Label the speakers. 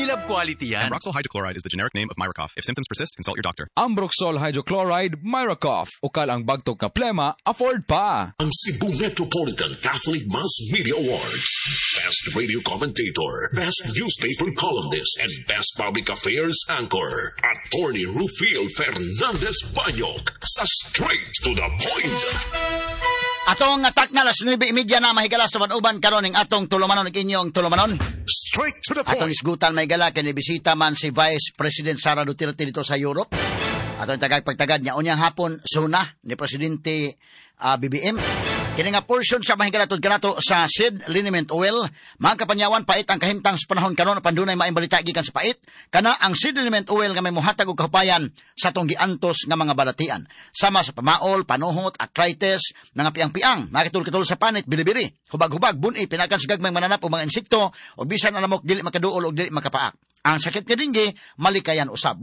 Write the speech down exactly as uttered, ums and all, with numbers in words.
Speaker 1: Unilab quality yan.
Speaker 2: Ambroxol hydrochloride is the generic name of Myracof. If symptoms persist, consult your doctor.
Speaker 3: Ambroxol hydrochloride, Myracof. Ukal ang bagtok nga plema, afford pa.
Speaker 4: Ang Cebu Metropolitan Catholic Mass Media Awards. Best Radio Commentator, Best Newspaper Columnist, and Best Public Affairs Anchor. Attorney Rufil Fernandez Banyok sa Straight to the Point.
Speaker 5: Atong atak na alas nuwebe trenta na, mahigala, sa uban karon ning atong tulumanon ug inyong tulumanon.
Speaker 4: Straight to the
Speaker 5: Atong isgutan, mahigala, kay bisita man si Vice President Sara Duterte dito sa Europe. Atong tagag pagtagad niya unyang hapon suna ni Presidente ah, B B M. Kini nga portion sa, mahigala, tud kanato sa Seed Liniment Oil. Mga kapanyawan, pait ang kahimtang sa panahon karon apan dunay maayong balita gikan sa pait. Kana ang Seed Liniment Oil nga may mohatag og kahupayan sa atong giantos nga mga balatian. Sama sa pamaol, panuhot, arthritis, mga piang-piang, makitul-kitol sa panit, bilibili, hubag-hubag, buni, pinakan sa gagmay mananap o mga insekto, o bisan alamok dili makaduol o dili makapaak. Ang sakit nga dengue, malikayan usab.